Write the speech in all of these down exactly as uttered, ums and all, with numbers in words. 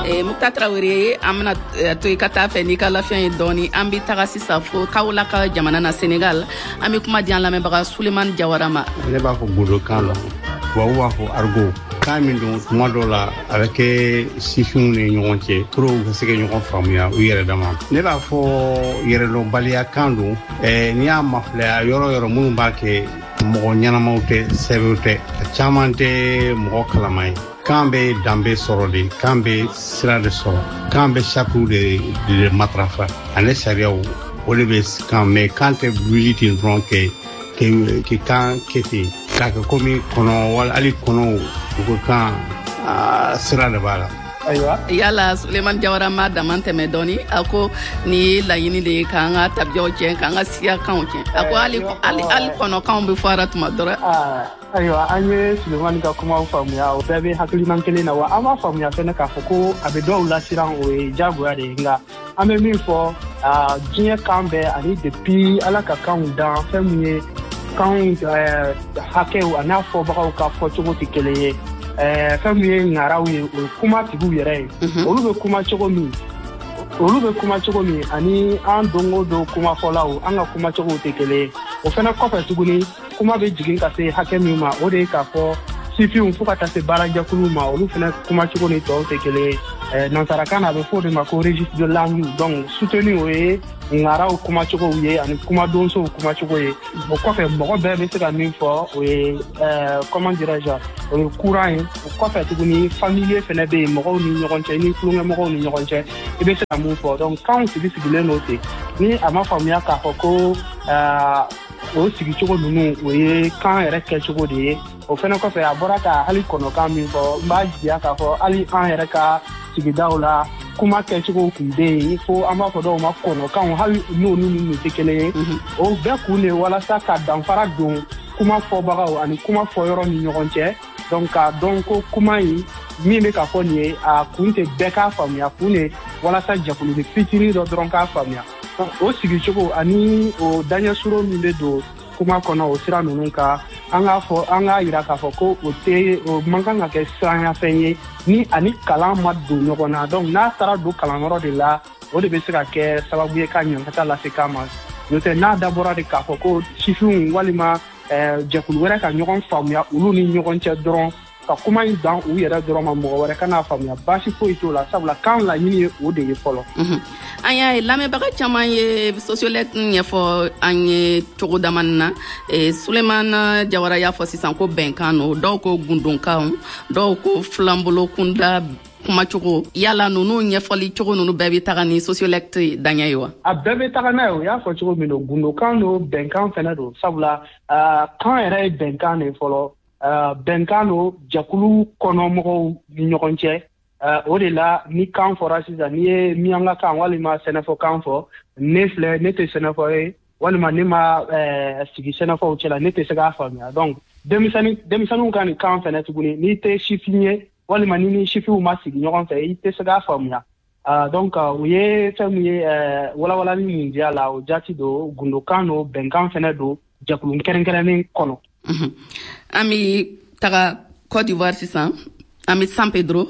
Eh, Mukta Traoré, an bɛna eh, to i ka taa fɛ n'i ka lafiya ye dɔɔni. An bɛ taga sisan fo Kaolack jamana na, Senegal. An bɛ kuma di an lamɛnbaga Sulemani Jawara ma. Ne b'a fɔ gundokan la, tubabu b'a fɔ argot. Kan min don, tuma dɔw la a bɛ kɛ sifinw ni ɲɔgɔn cɛ pour u ka se ka ɲɔgɔn faamuya u yɛrɛ dama. Ne b'a fɔ yɛrɛdɔnbaliya kan don. ɛɛ n'i y'a mafilɛ, a yɔrɔ yɔrɔ minnu b'a kɛ, mɔgɔ ɲɛnamaw tɛ, sɛbɛw tɛ, a caman tɛ mɔgɔ kalama ye. Kan bɛ danbe sɔrɔ de, kan bɛ sira de sɔrɔ, kan bɛ saritiw de de matarafa ani sariyaw, o de bɛ kan. Mɛ kan tɛ wuli ten dɔrɔn kɛ ke kan kɛ ten k'a kɛ komi kɔnɔ, wala hali kɔnɔw u ko kan sira de b'a la. Ayiwa. Yala Sulemani Jawara ma dama tɛmɛ dɔɔni? A ko nin ye laɲini de ye k'an ka tabiyaw tiɲɛ, k'an ka siyakanw tiɲɛ. A ko hali hali hali kɔnɔkanw bɛ fɔ a la tuma dɔ la. Ayiwa, an ye Sulemani ka kumaw faamuya, o bɛɛ bɛ hakilina kelen na. Wa an b'a faamuya fɛnɛ k'a fɔ ko a bɛ dɔw lasiran, o ye diyagoya de ye. Nka an bɛ min fɔ, diɲɛ kan bɛɛ ani depuis Ala ka kanw dan, fɛn min ye kanw hakɛw a n'a fɔbagaw ka fɔcogo tɛ kelen ye. Fɛn min ye ŋaraw ye, o ye kuma tigiw yɛrɛ ye, olu bɛ kuma cogo min olu bɛ kuma cogo min ani an don o don kumafɔlaw, an ka kumacogow tɛ kelen ye. O fana kɔfɛ tuguni, kuma bɛ jigin ka se hakɛ min ma, o de ye k'a fɔ sifinw fo ka taa se baarajɛkuluw ma, olu fana kumacogo ni tɔw tɛ kelen ye. Nansarakan na, a bɛ fɔ o de ma ko registre de langue. Donc soutenu, o ye ŋaraw kumacogow ye ani kumadonsow kumacogo ye. O kɔfɛ, mɔgɔ bɛɛ bɛ se ka min fɔ, o ye, comment dirais-je, o ye courant ye. O kɔfɛ tuguni, familier fɛnɛ bɛ yen, mɔgɔw ni ɲɔgɔn cɛ, ni tulonkɛmɔgɔw ni ɲɔgɔn cɛ, i bɛ se ka mun fɔ. Donc kanw sigi sigilen don ten. Ni a ma faamuya k'a fɔ ko o sigicogo ninnu, o ye kan yɛrɛ kɛcogo de ye. O fɛnɛ kɔfɛ, a bɔra ka hali kɔnɔkan min fɔ, n b'a jigiya k'a fɔ hali an yɛrɛ ka sigidaw la, kuma kɛcogo tun bɛ yen fo an b'a fɔ dɔw ma kɔnɔkanw, hali n'olu ninnu tɛ kelen ye. O bɛɛ kun de ye walasa ka danfara don kuma fɔbagaw ani kuma fɔyɔrɔ ni ɲɔgɔn cɛ. Donc k'a dɔn ko kuma in min bɛ ka fɔ nin ye, a kun tɛ bɛɛ k'a faamuya, kun de walasa jɛkulu fitinin dɔ dɔrɔn k'a faamuya. O sigicogo ani o daɲɛsuro min bɛ don kuma kɔnɔ, o sira ninnu kan, an k'a fɔ, an k'a yira k'a fɔ ko o tɛ, o man kan ka kɛ siranyafɛn ye ni ani kalan ma don ɲɔgɔn na. Donc n'a taara don kalanyɔrɔ de la, o de bɛ se ka kɛ sababu ye ka ɲankata lase kan ma. N'o tɛ, n'a dabɔra de k'a fɔ ko sifinw walima jɛkulu wɛrɛ ka ɲɔgɔn faamuya olu ni ɲɔgɔn cɛ dɔrɔn, ka kuma in dan u yɛrɛ dɔrɔn ma, mɔgɔ wɛrɛ kan'a faamuya, baasi foyi t'o la, sabula kan laɲini ye o de ye fɔlɔ. An y'a ye lamɛnbaga caman ye sociolect ɲɛfɔ an ye cogo damani na. Sulemana Jawara y'a fɔ sisan ko bɛnkan no, dɔw ko gundonkanw, dɔw ko filanbolo kunda kumacogo. Yala ninnu ɲɛfɔli cogo ninnu bɛɛ bɛ taga ni sociolect daɲɛ ye wa? A bɛɛ bɛ taga n'a ye. O y'a fɔ cogo min don, gundokan don, bɛnkan fɛnɛ don, sabula kan yɛrɛ ye bɛnkan de fɔlɔ. Bɛnkan don jɛkulu kɔnɔmɔgɔw ni ɲɔgɔn cɛ. O de la, ni kan fɔra sisan, n'i ye miyanka kan walima sɛnɛfɔ kan fɔ, ne filɛ, ne tɛ sɛnɛfɔ ye walima ne ma sigi sɛnɛfɔw cɛla, ne tɛ se k'a faamuya. Donc denmisɛnnin denmisɛnninw ka nin kan fɛnɛ tuguni, n'i tɛ sifin ye walima ni ni sifinw ma sigi ɲɔgɔn fɛ, i tɛ se k'a faamuya. Donc u ye fɛn min ye, walawalali min di a la, o jaati don, gundokan don, bɛnkan fɛnɛ don jɛkulu kɛrɛnkɛrɛnnen kɔnɔ. An bɛ taga Côte d'Ivoire sisan, an bɛ San Pedro,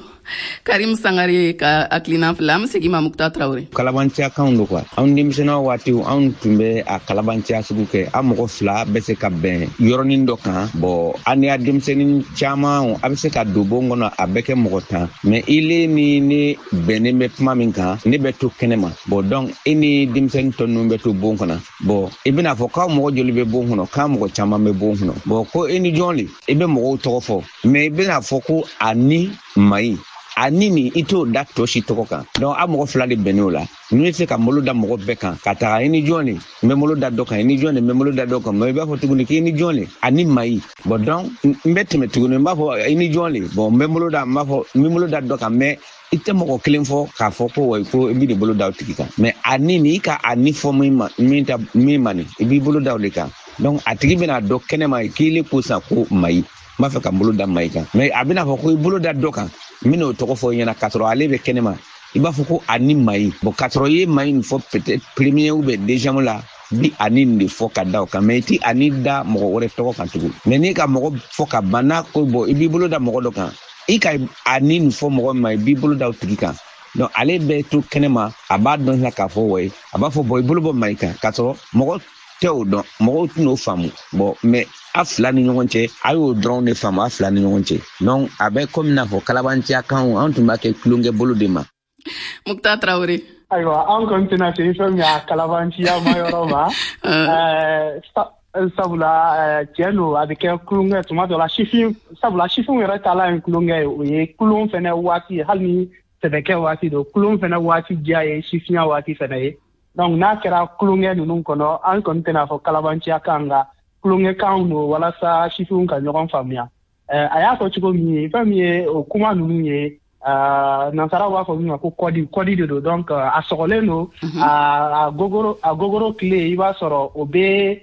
Karim Sangare ka hakilina filɛ. An bɛ segin ma Mukta Traoré. Kalabanciya kanw don quoi. Anw denmisɛnninw waatiw, anw tun bɛ a kalabanciya sugu kɛ. An mɔgɔ fila bɛ se ka bɛn yɔrɔnin dɔ kan. Bon, an y'a denmisɛnnin caman, a bɛ se ka don bon kɔnɔ, a bɛ kɛ mɔgɔ tan. Mais ile ni ne bɛnnen bɛ kuma min kan, ne bɛ to kɛnɛ ma. Bon, donc e ni denmisɛnnin tɔ ninnu bɛ to bon kɔnɔ. Bon, i bɛna fɔ k'aw mɔgɔ joli bɛ bon kɔnɔ, k'an mɔgɔ caman bɛ bon kɔnɔ. Bon, ko e ni jɔn le, i bɛ mɔgɔw tɔgɔ fɔ, mais i bɛna fɔ ko a ni Mayi, a ni nin, i t'o da tɔ si tɔgɔ kan. Donc a mɔgɔ fila de bɛnn'o la. N'u ye se ka malo da mɔgɔ bɛɛ kan ka taga, i ni jɔn de, n bɛ malo da dɔ kan, i ni jɔn de, n bɛ malo da dɔ kan. Mais i b'a fɔ tuguni k'i ni jɔn de, a ni Mayi. Bon, donc n bɛ tɛmɛ tuguni, n b'a fɔ i ni jɔn de. Bon, n bɛ malo da, n b'a fɔ n bɛ malo da dɔ kan, mais i tɛ mɔgɔ kelen fɔ k'a fɔ ko wa ko i b'i de bolo da o tigi kan. Mais a ni nin, i ka a ni fɔ min ma, min ta min ma nin, i b'i bolo da o de kan. Donc a tigi bɛna dɔn kɛnɛma k'i ko sisan ko Mayi, n b'a fɛ ka n bolo da Mayi kan. Mais a bɛna fɔ ko i bolo da dɔ kan, n bɛn'o tɔgɔ fɔ i ɲɛna k'a sɔrɔ ale bɛ kɛnɛma, i b'a fɔ ko a ni Mayi. Bon, k'a sɔrɔ i ye Mayi nin fɔ peut-être premier ou bien deuxième la, bi a ni nin de fɔ ka da o kan, mais i ti a ni da mɔgɔ wɛrɛ tɔgɔ kan tugun. Mais n'i ka mɔgɔ fɔ ka ban, n'a ko bon, i b'i bolo da mɔgɔ dɔ kan, I ka a ni nin fɔ mɔgɔ min ma, i b'i bolo da o tigi kan. Donc ale bɛ to kɛnɛma, a b'a dɔn sisan k'a fɔ wayi, a b'a fɔ bɔn i bolo bɔ Mayi kan, k'a sɔrɔ mɔgɔ tɛ o dɔn, mɔgɔw tɛn'o faamu. Bon mais a fila ni ɲɔgɔn cɛ, a y'o dɔrɔn de faamu a fila ni ɲɔgɔn cɛ. Donc a bɛ komi n'a fɔ kalabanciya kan, an tun b'a kɛ tulonkɛ bolo de ma. Muktar Traoré. Ayiwa, an kɔni tɛna se fɛn min a kalabanciya ma yɔrɔ ma. Sabula tiɲɛ don, a bɛ kɛ tulonkɛ tuma dɔ la sifin, sabula sifinw yɛrɛ taalan ye tulonkɛ ye, o ye tulon fɛnɛ waati ye, hali ni sɛbɛkɛ waati don, tulon fɛnɛ waati diya ye sifinya waati fɛnɛ ye. Donc n'a kɛra tulonkɛ ninnu kɔnɔ, an kɔni tɛna fɔ kalabanciya kan, nka tulonkɛ kan don walasa sifinw ka ɲɔgɔn faamuya. A y'a fɔ cogo min ye, fɛn min ye o kuma ninnu ye, nansaraw b'a fɔ min ma ko kɔdi, kɔdi de don. Donc a sɔgɔlen don, a gogoro a gogoro tile, i b'a sɔrɔ o bɛ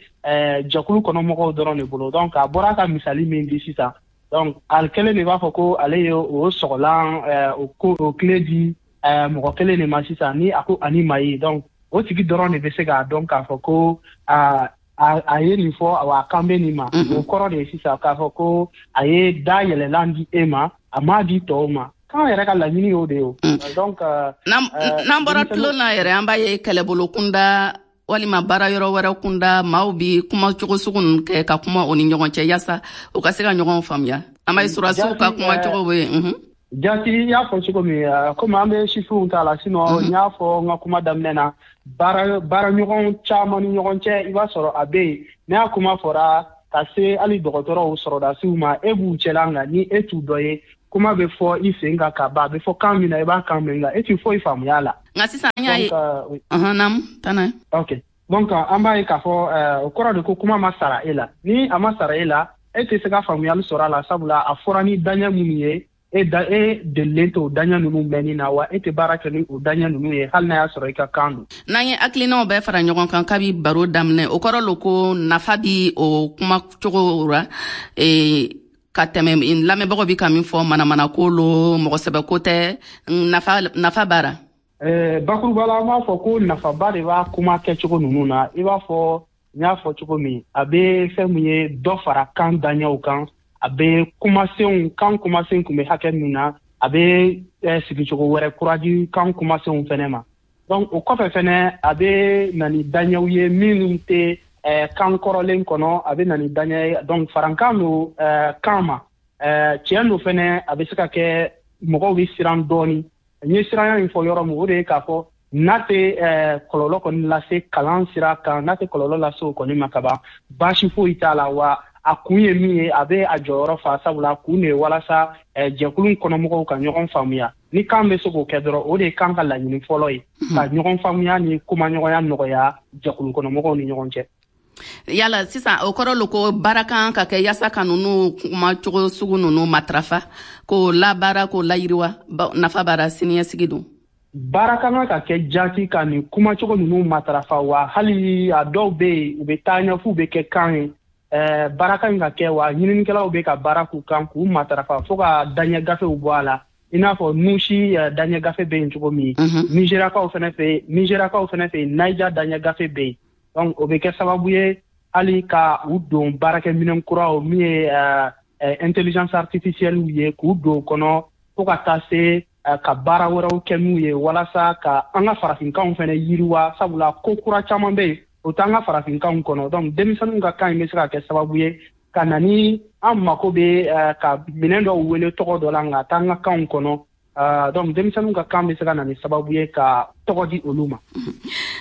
jɛkulu kɔnɔ mɔgɔw dɔrɔn de bolo. Donc a bɔra ka misali min di sisan, donc ale kelen de b'a fɔ ko ale ye o sɔgɔlan o ko o tile di mɔgɔ kelen de ma sisan, ni a ko ani Mayi. Donc o tigi dɔrɔn de bɛ se k'a dɔn k'a fɔ ko a a ye nin fɔ, wa a kan bɛ nin ma. O kɔrɔ de ye sisan k'a fɔ ko a ye da yɛlɛlan di e ma, a m'a di tɔw ma. Kan yɛrɛ ka laɲini y'o de ye o. Donc n'an bɔra tulon na yɛrɛ, an b'a ye kɛlɛbolo kunda walima baara yɔrɔ wɛrɛ kunda, maaw bi kuma cogo sugu ninnu kɛ ka kuma o ni ɲɔgɔn cɛ yaasa u ka se ka ɲɔgɔn faamuya. An b'a ye surasiw ka kuma cogo bɛ yen. Jati, i y'a fɔ cogo min, komi an bɛ sifinw ta la, sinon n y'a fɔ n ka kuma daminɛ na, baara baaraɲɔgɔn caman ni ɲɔgɔn cɛ, i b'a sɔrɔ a bɛ yen, n'a kuma fɔra ka se hali dɔgɔtɔrɔw sɔrɔdasiw ma, e b'u cɛla, nka ni e t'u dɔ ye, kuma bɛ fɔ i sen kan ka ban, a bɛ fɔ kan min na, i b'a kan mɛn, nka e t'i foyi faamuya la. Nka sisan an y'a ye. Naamu, taa n'a ye. Ok, donc an b'a ye k'a fɔ o kɔrɔ de ko kuma ma sara e la. Ni a ma sara e la, e tɛ se ka faamuyali sɔrɔ a la, sabula a fɔra ni daɲɛ minnu ye, e da e delilen t'o daɲɛ ninnu mɛnni na, wa e tɛ baara kɛ ni o daɲɛ ninnu ye, hali n'a y'a sɔrɔ i ka kan don. N'an ye hakilinaw bɛɛ fara ɲɔgɔn kan kabi baro daminɛ, o kɔrɔ lo ko nafa bi o kuma cogo ra ka tɛmɛ lamɛnbagaw bi ka min fɔ manamanako lo, mɔgɔ sɛbɛko tɛ, nafa nafa b'a. Bakuruba la, an b'a fɔ ko nafaba de b'a kuma kɛcogo ninnu na. I b'a fɔ n y'a fɔ cogo min, a bɛ fɛn min ye dɔ fara kan daɲɛw kan, a bɛ kumasenw kan kumasen kun bɛ hakɛ min na, a bɛ sigicogo wɛrɛ kura di kan kumasenw fɛnɛ ma. Donc o kɔfɛ fɛnɛ, a bɛ na ni daɲɛw ye minnu tɛ kan kɔrɔlen kɔnɔ, a bɛ na ni daɲɛ ye. Donc farankan don kan ma. Tiɲɛ don fɛnɛ, a bɛ se ka kɛ mɔgɔw bɛ siran dɔɔni. N ye siranya in fɔ yɔrɔ min, o de ye k'a fɔ n'a tɛ kɔlɔlɔ kɔni lase kalan sira kan, n'a tɛ kɔlɔlɔ lase o kɔni ma kaban, baasi foyi t'a la. Wa a kun ye min ye, a bɛ a jɔyɔrɔ fa, sabula a kun de ye walasa jɛkulu kɔnɔmɔgɔw ka ɲɔgɔn faamuya. Ni kan bɛ se k'o kɛ dɔrɔn, o de ye kan ka laɲini fɔlɔ ye, ka ɲɔgɔn faamuya ni kumaɲɔgɔnya nɔgɔya jɛkulu kɔnɔmɔgɔw ni ɲɔgɔn cɛ. Yala sisan o kɔrɔ lo ko baara kan ka kɛ yaasa ka ninnu kuma cogo sugu ninnu matarafa, k'o labaara, k'o layiriwa, nafa b'a la siniɲɛsigi don. Baara kan ka kɛ jaati ka nin kumacogo ninnu matarafa, wa hali a dɔw bɛ yen, u bɛ taa ɲɛ f'u bɛ kɛ kan ye. Baara kan ka kɛ, wa ɲininikɛlaw bɛ ka baara k'u kan k'u matarafa fo ka daɲɛ gafew bɔ a la, i n'a fɔ Nusi daɲɛ gafe bɛ yen cogo min, Nizeriyakaw fɛnɛ fɛ yen, Nizeriyakaw fɛnɛ fɛ yen, Naija daɲɛ gafe bɛ yen. Donc o bɛ kɛ sababu ye hali ka u don baarakɛminɛn kuraw min ye intelligence artificielle ye, k'u don kɔnɔ fo ka taa se ka baara wɛrɛw kɛ n'u ye, walasa ka an ka farafinkanw fɛnɛ yiriwa, sabula ko kura caman bɛ yen o t'an ka farafinkanw kɔnɔ. Donc denmisɛnninw ka kan in bɛ se ka kɛ sababu ye ka na ni an mako bɛ ka minɛn dɔw wele tɔgɔ dɔ la, nka t'an ka kanw kɔnɔ. Donc denmisɛnninw ka kan bɛ se ka na ni sababu ye ka tɔgɔ di olu ma.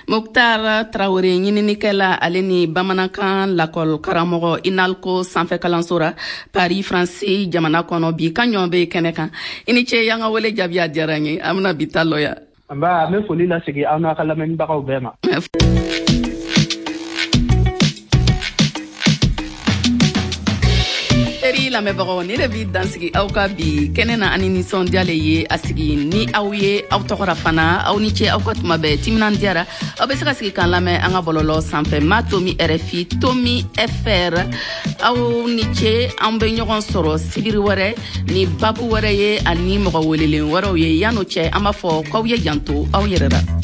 Muktar Traoré, ɲininikɛla ale ni bamanankan lakɔli karamɔgɔ INALCO sanfɛ kalanso ra Paris Faransi jamana kɔnɔ, bi kan ɲɔgɔn bɛ kɛnɛ kan. I ni ce, y'an ka wele jaabi, a diyara n ye. An bɛna bi ta lɔ yan. Nba, n bɛ foli lasegin aw n'a ka lamɛnnibagaw bɛɛ ma. Teri lamɛnbagaw, ne de b'i dansigi aw ka bi kɛnɛ na ani nisɔndiya le ye a sigi ni aw ye aw tɔgɔra fana. Aw ni ce, aw ka tuma bɛɛ timinan diyara. Aw bɛ se ka sigi k'an lamɛn an ka bɔlɔlɔ sanfɛ, ma tomi R F I tomi F R. Aw ni ce, an bɛ ɲɔgɔn sɔrɔ sibiri wɛrɛ ni babu wɛrɛ ye ani mɔgɔ welelen wɛrɛw ye. Yan'o cɛ, an b'a fɔ k'aw ye janto aw yɛrɛ la.